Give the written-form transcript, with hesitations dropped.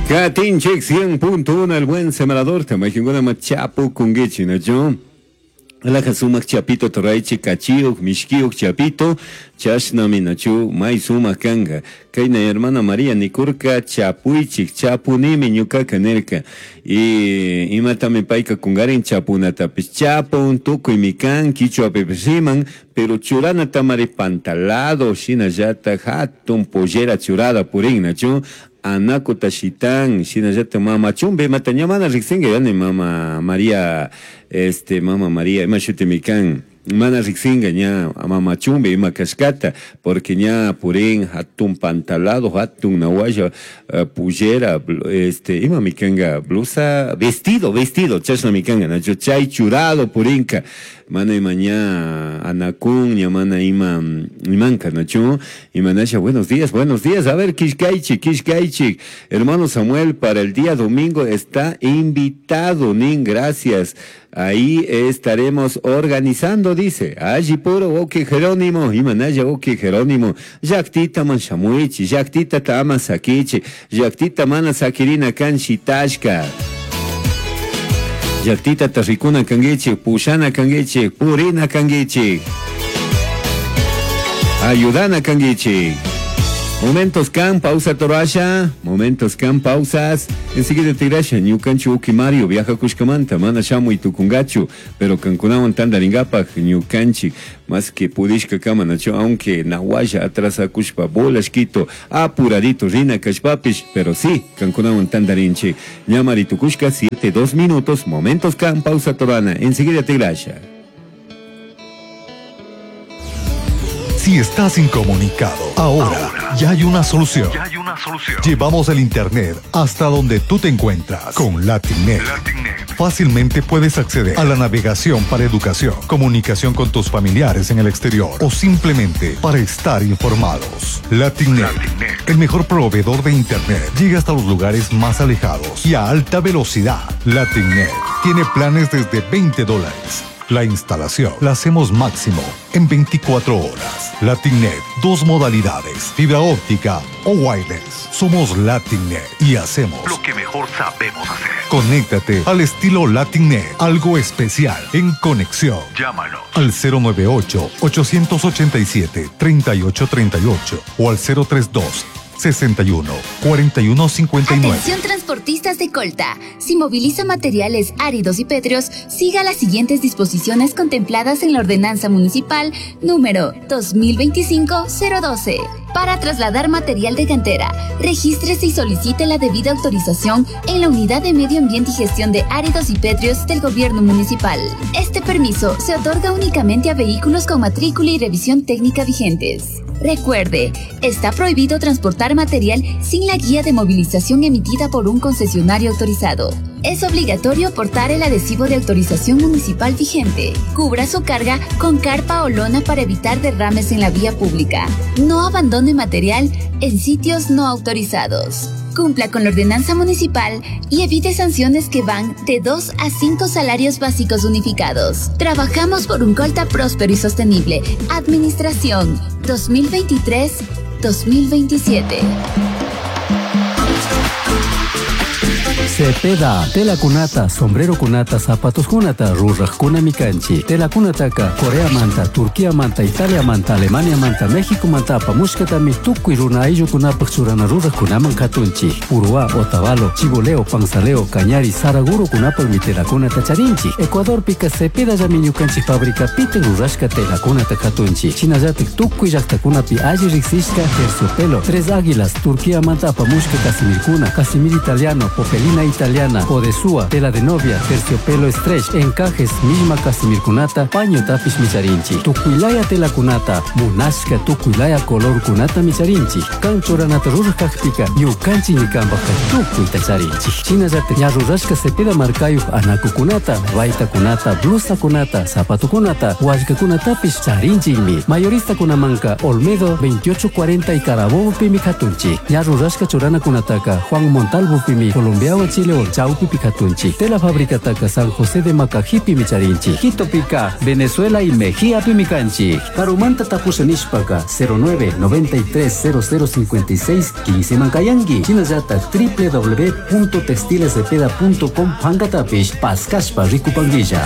Katinchik 100.1 El Buen Sembrador, mayqinkunama chapukunkichik, nachu? Alaja sumak chapito toraychik kachiyuq, mishkiyuq chapito, chashnami nachu may sumak kanka. Kayna hermana María nikurka chapuychik, chapunimi ñukaka nirka. Y imatami payka kungarin chapunatapish chapun, tukuymi kan, kichwapipish riman, pero churanatamari pantalado, shinallata hatun pollera churada purin, nachu? Anakuta shitan, shinallata mama chumbi, imata ña mana riksinka, yani mama María, este, mama María, ima shutimi kan, mana riksinka ña mama chumbi ima kashkata, porque ña purin hatun pantalado, hatun nawalla, pollera, este, imami kanka, blusa, vestido, vestido, chashnami kanka, nachu chay churado purinka, mana ima ña anakun, ña mana ima imanka, nachu, imanasha, buenos días, buenos días, a ver, kishkaychik, kishkaychik, hermano Samuel, para el día domingo está invitado, nin, gracias. Ahí estaremos organizando, dice. Allí puro, ok, Jerónimo, imanaya, ok, Jerónimo. Llaktita man shamuichi, llaktita tama sakichi, llaktita mana sakirina kan shitashka. Llaktita tarrikuna kangichi, pushana kangichi, purina kangichi. Ayudana kangichi. Momentos kan, pausa torasha, momentos kan, pausas. Enseguida te grasha, ñukanchu uki Mario, viaja kushkamanta, mana shamu y tukungachu, pero kankunawan tandaringapaj, ñukanchi, más que pudishka kama, nacho, aunque nawaya atrasa kushpa, bolashkito, apuradito, rina kashpapish, pero sí, kankunawan tandarinchi. Ñamari tukushka, 7, 2 minutos, momentos kan, pausa torana, enseguida te grasha. Si estás incomunicado, ahora ya hay una solución. Ya hay una solución. Llevamos el internet hasta donde tú te encuentras con Latinet. Latinet. Fácilmente puedes acceder a la navegación para educación, comunicación con tus familiares en el exterior o simplemente para estar informados. Latinet, Latinet. el mejor proveedor de internet, llega hasta los lugares más alejados y a alta velocidad. Latinet tiene planes desde veinte dólares. La instalación la hacemos máximo en 24 horas. Latinet, dos modalidades, fibra óptica o wireless. Somos Latinet y hacemos lo que mejor sabemos hacer. Conéctate al estilo Latinet, algo especial en conexión. Llámanos al cero nueve ocho, ochocientos ochenta y siete, treinta y ocho treinta y ocho o al cero tres dos, sesenta y uno, cuarenta y uno, cincuenta y nueve. Atención transportistas de Colta. Si moviliza materiales áridos y pétreos, siga las siguientes disposiciones contempladas en la Ordenanza Municipal número 2025-012. Para trasladar material de cantera, regístrese y solicite la debida autorización en la Unidad de Medio Ambiente y Gestión de Áridos y Pétreos del Gobierno Municipal. Este permiso se otorga únicamente a vehículos con matrícula y revisión técnica vigentes. Recuerde, está prohibido transportar material sin la guía de movilización emitida por un concesionario autorizado. Es obligatorio portar el adhesivo de autorización municipal vigente. Cubra su carga con carpa o lona para evitar derrames en la vía pública. No abandone material en sitios no autorizados. Cumpla con la ordenanza municipal y evite sanciones que van de 2 a 5 salarios básicos unificados. Trabajamos por un Colta próspero y sostenible. Administración 2023-2027. Cepeda, tela cunata, sombrero cunata, zapatos cunata, ruraj cuna mikanchi, tela cunataka, Corea manta, Turquía manta, Italia manta, Alemania manta, México manta, apamushkatami, tukuy runa ayllu kunapaj churana ruraj kunaman katunchi, Uruá, Otavalo, Chiboleo, Panzaleo, Cañari, Saraguro kunapaj mi tela cunata charinchi, Ecuador pica Cepeda llami ñukanchi fábrica pite rurashka tela cunata katunchi, Chinallatik tukuy llaqtakunapi alli riksishka terciopelo, Tres Águilas, Turquía manta apamushka Casimircuna, Casimir italiano, Popelina italiana, Odesúa, tela de novia, terciopelo stretch, encajes, misma casimircunata, paño tapis micharinchi, tucuilaya tela cunata, munashka tucuilaya color cunata micharinchi, canchoranata rurkakpika, ñukanchi ñikambaka tukuy tacharinchi. Chinallate ñarrurashka cepeda markayuj anakukunata, baita kunata, blusa kunata, zapato kunata, huallka kunatapis charinchimi. Mayorista kunamanka, Olmedo 2840 y Carabobo pimi katunchi. Ñarrurashka churana kunataka, Juan Montalvo pimi, Colombia Chilewan chawpipi katunchik. Tela fabricataka San José de Macajipimi charinchik. Quitopika Venezuela y Mejiapimi kanchik. Karumanta tapusha nishpaka 09 93 0056 15 mankayanki. Shinallatak www.textilescepeda.com pankatapish paskashpa rikupankilla.